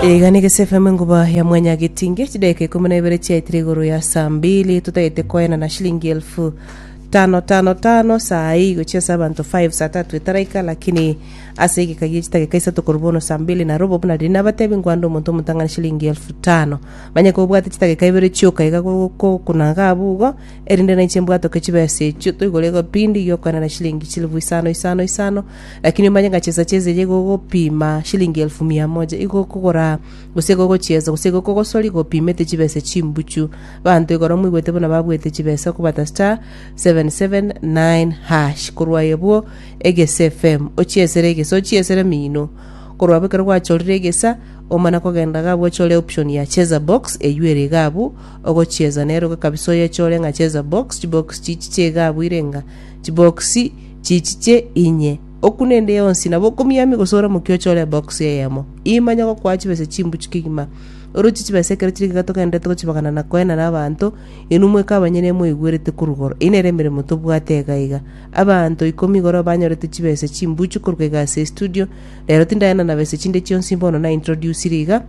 Iga nigo SFM enguba ya mwanya getinge chidakika ikomi na ibere chiaetire igoro ya saa mbili totagete koenana shilingi elfu tano tano tano saa hii gochia ase abanto 5 saa tatu etaraika lakini ase egeka gie chidakika isato korwa bono saa mbili na robo buna riria nabatebi nkwande omonto omotang'ani shilingi elfu tano manye kobwate chidakika ibere chioka iga gokuna iga abwo igo erinde nainche mbwatoke chibesa echio toigore egepindi giokoenana shilingi chilifu isano isano isano Lakini omanye ng'a chesa chi'ense eye igo ogopima shilingi elfu mia moja, igo okogora gose igo ogochiesa gose igo okogosoria igo opimete chibesa chimbuchu. Abanto igoro moigwete buna babwete chibesa okobata star 779 hash korwa aye bwo Egesa FM ochiesere egesa ochiesere mino. Korwa abwo ekero gwachorire egesa omana kogenda iga abwo ochore option ya cheza box eywo ere iga abwo ogochiesa nero iga kabisa oyechore ng'a cheza box chibox chichiche iga abwo ire ng'a chibox Chichiche inye, okune ende yonsi, nabo okomiamia gose oramokie ochore ebox eyemo. Imanya gokoa chibesa chimbuchu kegima. Oroche chibesa ekero chire iga togenderete gochibagana na koenana abanto, inwe mweka abanyene moigwerete korwa igoro. Eyio nere emeremo tobwate iga iga. Abanto ikomi igoro banyorete chibesa chimbuchu korwa iga ase estudio. Rero tindaenana besa chinde chionsi bono na introducire iga.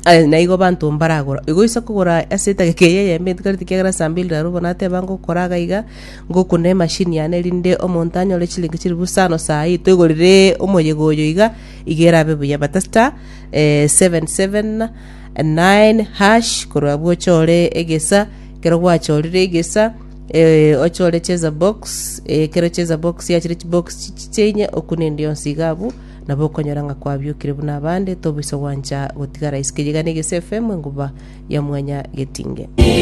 Aye naigo abanto mbaragora. Igo oise kogora ase etageka eye eyemo etigarete ekiagera saa mbili na robo nateba ngokora iga iga, ngokuna emashini yane erinde omonto anyore chilingi chilifu isano saa hii toigorere omoyega oyo iga, iga erabe buya. Bata star 779 hash korwa abwo ochore egesa, ekero gwachorire egesa ochore cheza box, ekero cheza box yachire chibox chichiche inye okune ende yonsi iga abwo. Nabo okonyora ng'a kwabiokire buna abande, tobaisa gwancha gotigara isiko eye iga na Egese FM, enguba ya mwanya getinge.